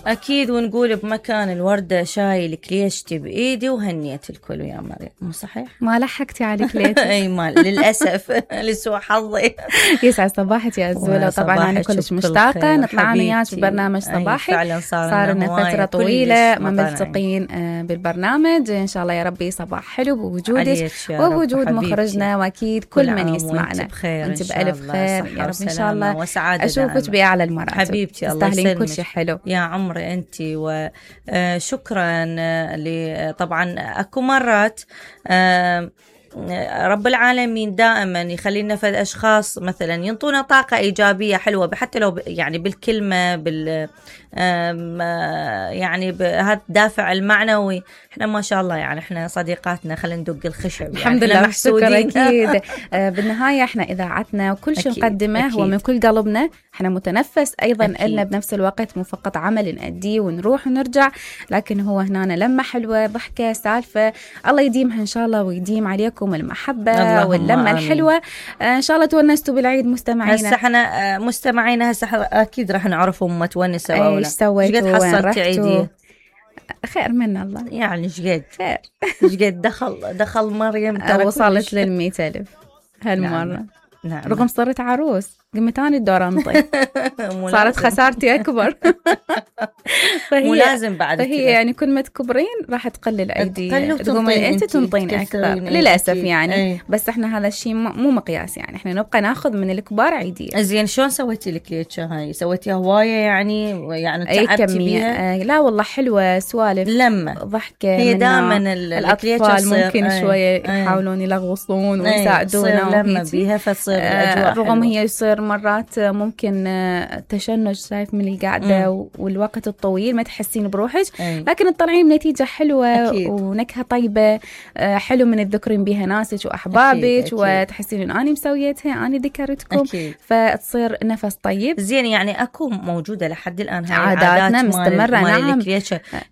أكيد، ونقول بمكان الوردة شايل كليشتي بإيدي وهنيت الكل يا مريم، مو صحيح؟ ما لحقتي على كليتي. أي مال للأسف لسوء حظي. يسعد صباحك يا زولة، وطبعا أنا كلش مشتاقة نطلع أنا وياك ببرنامج صباحي. فعلا صار لنا فترة طويلة ما ملتقين بالبرنامج. إن شاء الله يا ربي صباح حلو بوجودك وبوجود مخرجنا، وأكيد كل من يسمعنا. أنت بألف خير يا رب إن شاء الله، أشوفك بأعلى المراتب حبيبتي. الله يسلمك، كل شيء حلو يا عمري أنت. وشكرا طبعا أكو مرات رب العالمين دائما يخلينا في أشخاص مثلا ينطونا طاقة إيجابية حلوة، حتى لو يعني بالكلمة يعني بهذا الدافع المعنوي. احنا ما شاء الله يعني احنا صديقاتنا خلينا ندق الخشب الحمد يعني لله محسودين أكيد. بالنهاية احنا إذاعتنا وكل شيء نقدمه هو من كل قلبنا، احنا متنفس أيضا إلنا بنفس الوقت، مو فقط عمل نأديه ونروح ونرجع، لكن هو هنا لمة حلوة، ضحكة، سالفة. الله يديمها إن شاء الله ويديم عليكم المحبة واللمة الحلوة. إن شاء الله تونستوا بالعيد مستمعينا. هسه احنا مستمعينا هسه أكيد راح نعرفهم متونسة ولا ايش سويتوا، ايش قد حصلتي عيدي؟ خير من الله يعني ايش قد خير، ايش قد دخل مريم وصلت لل100,000 هالمرة. نعم. رغم صرت عروس قمت أنا الدور أنطي. صارت خسارتي أكبر. مو لازم بعد فهي يعني كل ما تكبرين راح تقل الأيدي، تقومين أنت تنطين أكثر للأسف يعني. بس إحنا هذا الشيء مو مقياس، يعني إحنا نبقى ناخذ من الكبار عيدية. زين شلون سويتي الكليتشة هاي؟ سويتيها هواية يعني تعبتي بيها؟ لا والله حلوة، سوالف لما ضحكة. هي دائما الأطفال ممكن شوية يحاولون يلغوصون ويساعدونا لما بيها فتصير الأجواء رغم هي يصير مرات ممكن تشنج شايف من القعدة والوقت الطويل ما تحسين بروحك، لكن تطلعين بنتيجة حلوة أكيد. ونكهة طيبة حلو من تذكرين بها ناسك وأحبابك أكيد. وتحسين إن أنا مسويتها، أنا ذكرتكم أكيد. فتصير نفس طيب. زين يعني أكو موجودة لحد الآن هاي عاداتنا مستمرة. نعم،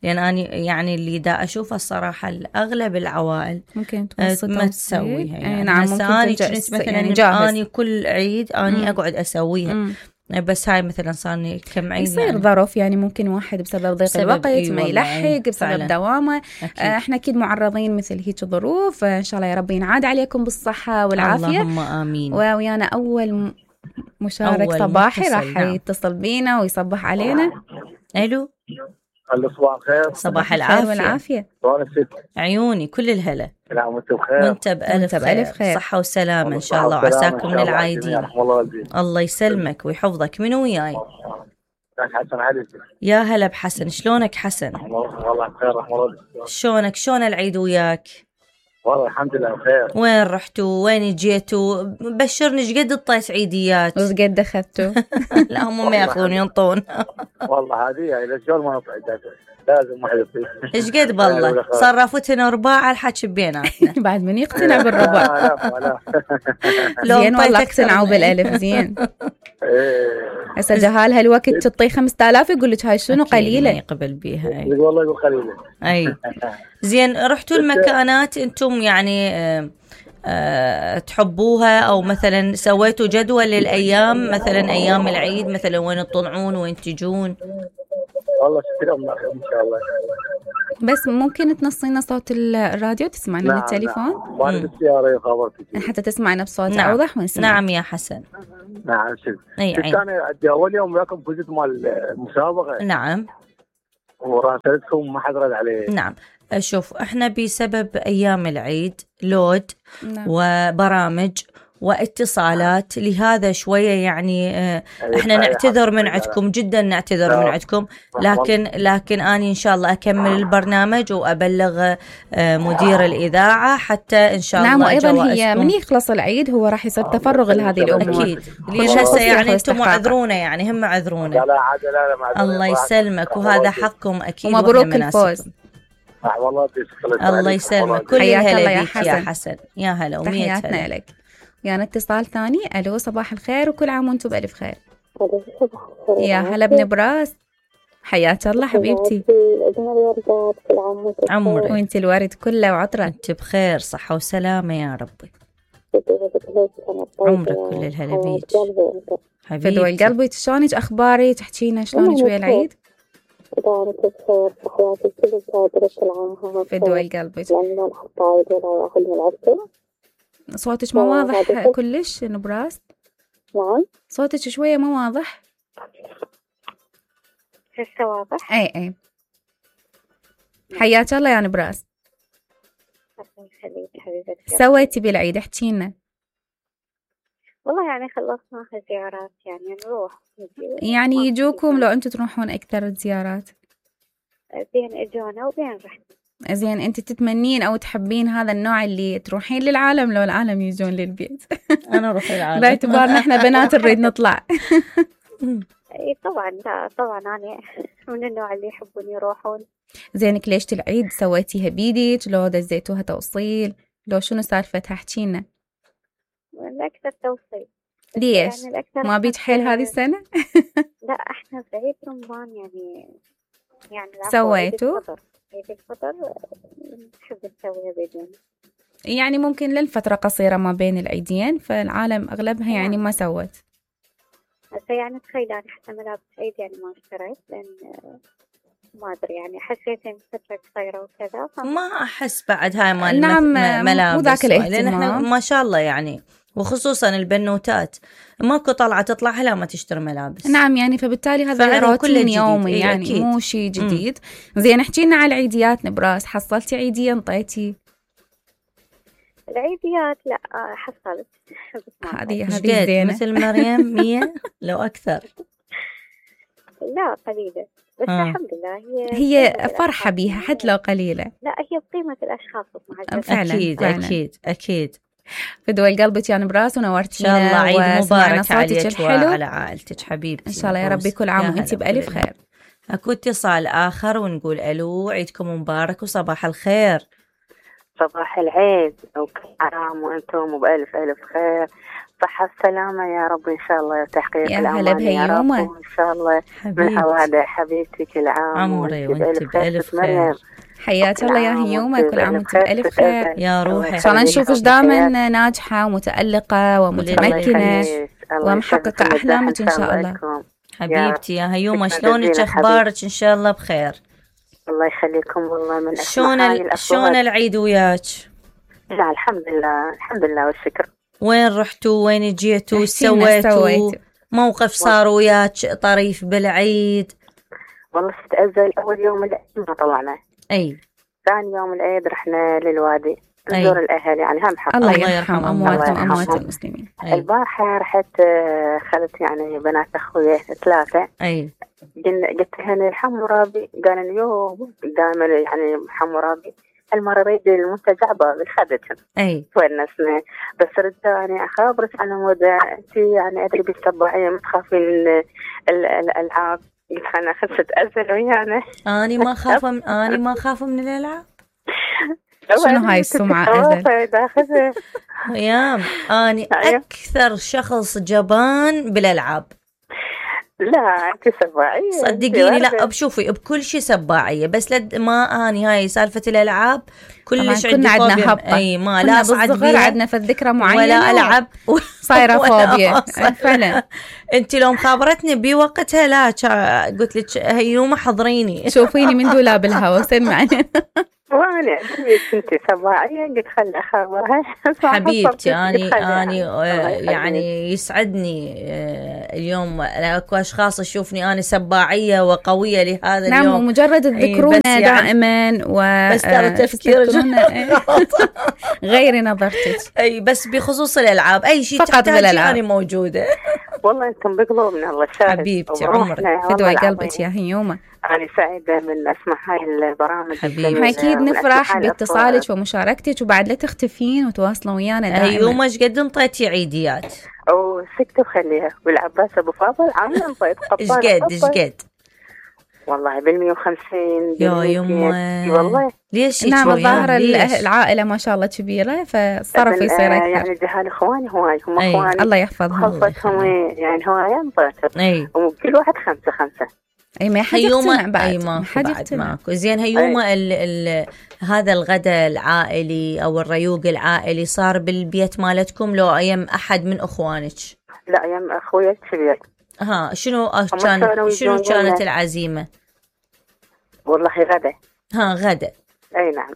لأن أنا يعني اللي دا أشوفها الصراحة أغلب العوائل ممكن ما تسويها يعني. نعم ممكن مثلا يعني جاهز. أنا كل عيد أنا أقعد أسويها بس هاي مثلا صارني كم عيد يصير يعني ظرف يعني ممكن واحد بسبب ضيق الوقت ما يلحق بسبب دوامه. احنا اكيد معرضين مثل هيك ظروف. ان شاء الله يا رب ينعاد عليكم بالصحه والعافيه، اللهم امين. ويانا اول مشارك صباحي راح يتصل بينا ويصبح علينا. الو صباح الخير. صباح العافيه والعافيه. عيوني كل الهلا. نعم وانت بخير. وانت بألف خير، صحة وسلامة إن شاء الله، وعساكم من العايدين. الله يسلمك ويحفظك. من وياي؟ حسن علي. يا هلا بحسن، شلونك حسن؟ والله بخير رحمة الله. شلونك؟ شلون العيد وياك؟ والله الحمد لله بخير. وين رحتوا؟ وين جيتوا؟ بشرني ايش قد طيت عيديات؟ وايش قد اخذتوا؟ لا هم ما ياخذون ينطون. والله هذه اذا شلون ما نطلع لازم واحد يطير. ايش قد بالله صرفتنا رباع الحكي بيناتنا. بعد من يقتنع بالرباع؟ لا زين والله اقتنعوا بالالف. زين هسه جهال هالوقت تطي 5000 يقول لك هاي شنو قليله يقبل بيها. والله يقول قليله. اي زين رحتوا المكانات انتم يعني تحبوها، او مثلا سويتوا جدول للايام مثلا ايام العيد مثلا وين تطلعون وين تجون؟ والله شكرا ان شاء الله. بس ممكن تنصينا صوت الراديو تسمعنا بالتليفون؟ نعم بالسيارة خبرتك حتى تسمعنا بصوت أوضح ونسمع. نعم يا حسن. نعم شكرا. أنا عندي أول يوم وياكم فزت مال المسابقة. نعم. وراسلتكم ما حد رد عليه. نعم شوف احنا بسبب أيام العيد لود نعم. وبرامج واتصالات، لهذا شوية يعني احنا نعتذر من عندكم، جدا نعتذر من عندكم، لكن أنا إن شاء الله أكمل البرنامج وأبلغ مدير الإذاعة حتى إن شاء الله. نعم وأيضا هي من يخلص العيد هو راح يصير تفرغ لهذه الأمور أكيد. هسه يعني أنتم معذرونا، يعني هم معذرونا. لا الله يسلمك وهذا حقكم أكيد. ومبروك الفوز. الله يسلمك. كل الهلا بيك يا حسن. يا هلا ومية تحياتنا لك. يعني اتصال ثاني. ألو صباح الخير وكل عام وانتم بألف خير. يا هلا بن براس، حياك الله حبيبتي. عمرك وانت الورد كله وعطرة. انت بخير صحة وسلامة يا ربي. عمرك كل الهلا بيك فدوى القلب. شلونك أخباري؟ تحكينا شلونك ويا العيد؟ دائما بخير في حياتي كلها درجة العامة فدوى قلبك. يعني ما نحط عيد ولا أخذ من العسل. صوتك ما واضح كلش نبراس. نعم. صوتك شوية ما واضح. هسه واضح؟ اي حياك الله يا نبراس. الله يخليك حبيبتي. سويتي بالعيد احكي لنا. والله يعني خلصنا زيارات يعني نروح يعني يجوكم لو انتم تروحون اكثر زيارات؟ بين اجونا وبين رحنا. زين انت تتمنين او تحبين هذا النوع اللي تروحين للعالم لو العالم يجون للبيت؟ انا اروح للعالم باعتبارنا احنا بنات نريد نطلع. اي طبعا. لا طبعا انا من النوع اللي يحبون يروحون. زين كليشة العيد سويتيها بيدك لو دزيتوها توصيل لو شنو سالفتها احكي لنا؟ الاكثر توصيل. ليش؟ يعني ما بيت حيل هذه السنة؟ لا احنا في عيد رمضان يعني سويتوا؟ عيد الفطر نحب نسويها بيدنا. يعني ممكن للفترة قصيرة ما بين العيدين فالعالم أغلبها يعني ما سوت. هسه يعني تخيل أنا حتى ملابس عيد يعني ما اشتريت لأن ما أدري يعني حسيت إن فترة قصيرة وكذا. ما أحس بعد هاي مال نعم ملابس. مو ذاك الاهتمام. لأن إحنا ما شاء الله يعني وخصوصا البنوتات ماكو طلعة تطلعها لا ما تشتري ملابس. نعم يعني فبالتالي هذا روتين يومي يعني أكيد. مو شيء جديد. زين احكينا على العيديات نبراس. حصلتي عيدية انطيتي؟ العيديات لا حصلت. هذه زينة مثل مريم 100 لو أكثر. لا قليلة بس الحمد لله هي فرحة بيها حتى لو قليلة. لا هي بقيمة الأشخاص فعلا أكيد فدوى قلبك يا نبراس ونورتينا. إن شاء الله عيد مبارك عليك وعلى عائلتك حبيبتي. إن شاء الله يا ربي كل عام وأنت بألف خير. أكو اتصال آخر ونقول ألو عيدكم مبارك وصباح الخير. صباح العيد وكل عام وأنتم بألف خير صحة السلامة يا رب إن شاء الله وتحقيق الأمان يا رب وإن شاء الله من أوادع حبيبتي كل عام عمري وأنت بألف خير. حياك الله يا هيومة كل عام وأنت بألف خير يا روحي. إن شاء الله نشوفش دائما ناجحة ومتألقة ومتمكنة ومحققة أحلامك إن شاء الله. حبيبتي يا هيومة شلونك أخبارك؟ إن شاء الله بخير. الله يخليكم والله من شلون العيد وياك؟ لا الحمد لله والشكر. وين رحتوا وين جيتوا سويتوا موقف صار وياك طريف بالعيد؟ والله استأذن أول يوم العيد ما طلعنا. أي ثاني يوم العيد رحنا للوادي نزور الأهل يعني هم حق الله يرحم أموات المسلمين. البارحة رحت خلت يعني بنات أخوي 3. قلت لهن الحمورابي قال يوم دائما يعني حمورابي المرة ريد المنتج عبا بالخدتهم ونسنا بس رداني أخابرك على مودة أنت يعني أدري بالسباعية ما تخافين الألعاب. قلت أنا خلصت أزل ويانا أنا ما خاف من الألعاب. شنو هاي السمعة أزل؟ ويام أنا أكثر شخص جبان بالألعاب. لا أنت سباعية صدقيني. لا بشوفي بكل شيء سباعية بس ما أني هاي سالفة الألعاب كلش عندي فوبيا. أي ما لا أصعد بيها عندنا في الذكرى معينة ولا ألعب صايرة فوبيا فعلا. أنت لو مخابرتني بوقتها لا قلت لك هيومة حضريني شوفيني من دولاب الهوا سمعني. وانا كنت سباعية قلت خلي أخبرها. حبيبتي أني يعني يسعدني اليوم اكو اشخاص يشوفني انا سباعيه وقويه لهذا اليوم. نعم ومجرد تذكرونا دائما بس ترى تفكير غير نظرتك. اي بس بخصوص الالعاب اي شيء تحتاجي انا موجوده. والله انتم بقلوبنا الله شاهد. حبيبتي عمرك فدوى قلبك يا هيومة. أنا سعيدة من أسمع هاي البرامج. حبيبي أكيد نفرح باتصالك ومشاركتك وبعد لا تختفين وتواصلون ويانا دائما. هيومة ايش قد انطيتي عيديات؟ سكتة وخليها والعباس أبو فاضل عامل انطيت قطار. ايش قد؟ والله بال150 يا يمه والله. ليش؟ نعم الظاهر العائلة ما شاء الله كبيرة فالصرف يصير أكثر. يعني جهال إخواني هواي هم إخواني الله يحفظهم خلصتهم يعني هواي انطيت وكل واحد 5. اي ما حد يقتنع بعد. اي ما حد ماكو. زين هيومة هذا الغداء العائلي او الريوق العائلي صار بالبيت مالتكم لو ايام احد من اخوانك؟ لا ايام اخويا الكبير. شنو كانت العزيمة؟ والله غدا. غدا. اي نعم.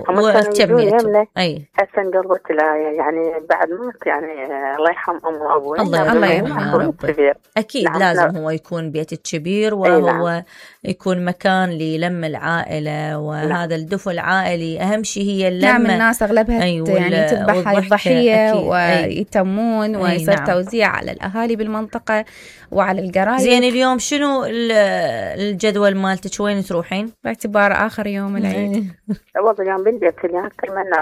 وتميته. اي هسه انقلبت يعني بعد موت يعني الله يرحم ام وابوي. الله يرحمه. اكيد نعم. لازم هو يكون بيت الكبير، وهو نعم. يكون مكان للم العائله، وهذا نعم. الدفء العائلي اهم شيء هي اللمه. نعم الناس اغلبها يعني تذبح هاي الضحيه ويتمون ويصير نعم. توزيع على الاهالي بالمنطقه وعلى القرايب. زين اليوم شنو الجدول مالتك؟ وين تروحين باعتبار اخر يوم العيد؟ والله اليوم بالبيت اليوم تمنى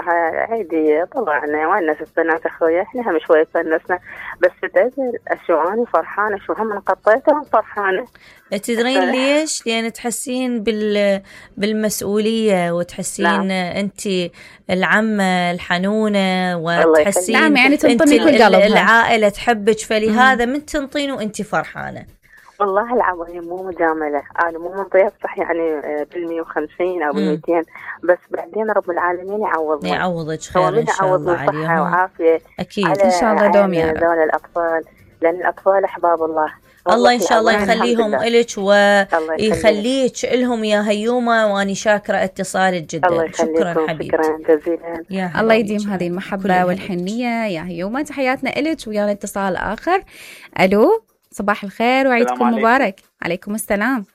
عيدي طبعا ونست بنات اخويا، احنا هم شوي فنسنا بس تدري شو انا فرحانه، شو هم انقطيتهم فرحانه. تدرين ليش؟ لان تحسين بالمسؤوليه، وتحسين نعم. انت العمه الحنونه، وتحسين نعم يعني تنطني كل قلبها، العائله تحبك، فلهذا من تنطين وانت فرحانه. والله العظيم مو مجامله، انا مو منطيه صح يعني بال150 او بال200، بس بعدين رب العالمين يعوضك خير ان شاء الله عليهم، صحه وعافيه اكيد ان شاء الله دوم يا رب. الاطفال، لان الاطفال احباب الله. الله ان شاء الله يخليهم إلك ويخليك لهم يا هيومه، واني شاكره اتصالك جدا. شكرا حبيبتي، شكرا جزيلا. الله يديم هذه المحبه والحنيه يا هيومه. تحياتنا إلك، ويانا اتصال اخر. الو، صباح الخير وعيدكم مبارك. عليكم السلام.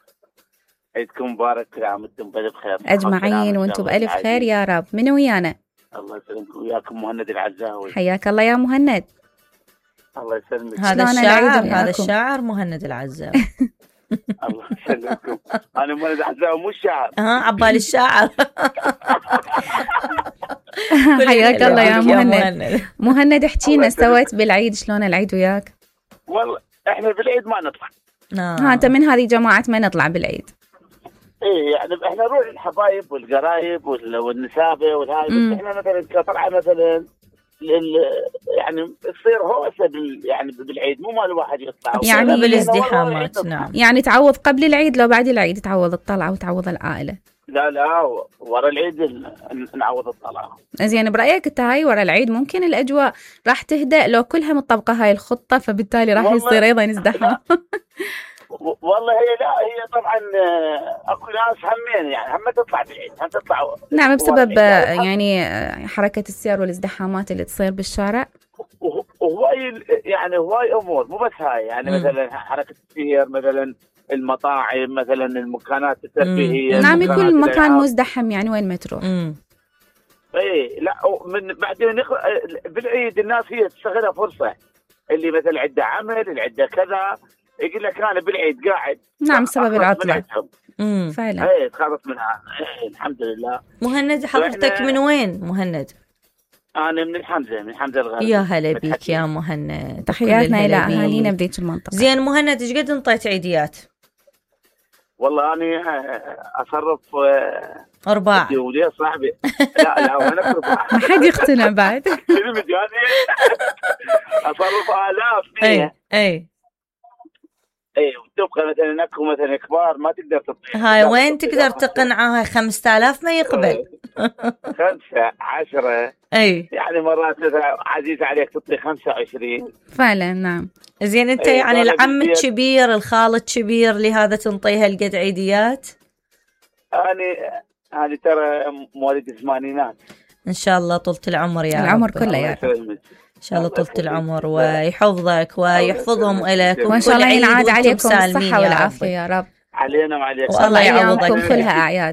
عيدكم مبارك، كل عام وانتم بألف خير اجمعين، وانتم بألف خير يا رب. من ويانا؟ الله يسلمكم، وياكم مهند العزاوي. حياك الله يا مهند. الله يسلمك. هذا الشاعر مهند العزاوي. الله يسلمكم. انا مهند العزاوي مو الشاعر. عبالي الشاعر. حياك الله يا مهند. مهند احكينا سويت بالعيد، شلون العيد وياك؟ والله احنا بالعيد ما نطلع. انت من هذه جماعه ما نطلع بالعيد؟ ايه يعني احنا نروح الحبايب والقرايب والنسابه والهاي، بس احنا مثلا كطلعه مثلا يعني تصير هوسه يعني بالعيد، مو مال الواحد يطلع يعني بالازدحامات. نعم يعني تعوض قبل العيد، لو بعد العيد تعوض الطلعه وتعوض العائله. لا ورا العيد نعوض الطلعه. زين برايك انت هاي ورا العيد ممكن الاجواء راح تهدأ لو كلها مطبقه هاي الخطه، فبالتالي راح يصير ايضا ازدحام. والله هي طبعا اكو ناس همين يعني هم تطلع بالعيد، هم تطلع نعم بسبب يعني حركه السير والازدحامات اللي تصير بالشارع، وهواي يعني هواي امور، مو بس هاي يعني مثلا حركه السير، مثلا المطاعم، مثلا المكانات الترفيهيه. نعم يكون مكان مزدحم يعني وين ما تروح. اي لا من بعدين بالعيد الناس هي تستغلها فرصه، اللي مثلا عنده عمل، اللي عنده كذا، يقول لك انا بالعيد قاعد. نعم بسبب العطله فعلا. اي تخلص منها. الحمد لله. مهند حضرتك من وين مهند؟ انا من الحمزه الغربي. يا هلا بيك يا مهند، تحياتنا الى اهالينا بذيك المنطقه. زين مهند ايش قد انطيت عيديات؟ والله انا اصرف ارباع ودي صاحبي. لا وانا ارباع. ما حد يقتنع بعد. اصرف الاف. اي وتبقى مثلا اكو مثلا كبار ما تقدر تطيح. هاي وين تقدر تقنعها؟ 5000 ما يقبل. 5 10 يعني مرات عزيز عليك تعطي 25 فعلا. نعم زين انت يعني العم الكبير الخال الكبير لهذا تنطيها القد عيديات؟ انا ترى مواليد الثمانينات. ان شاء الله طولة العمر يا العمر كله يا رب. ان شاء الله طولة العمر ويحفظك ويحفظهم لك، وان شاء الله ينعاد عليكم الصحة والعافية يا رب. علينا وعليكم، والله يعوضك كلها اعياد.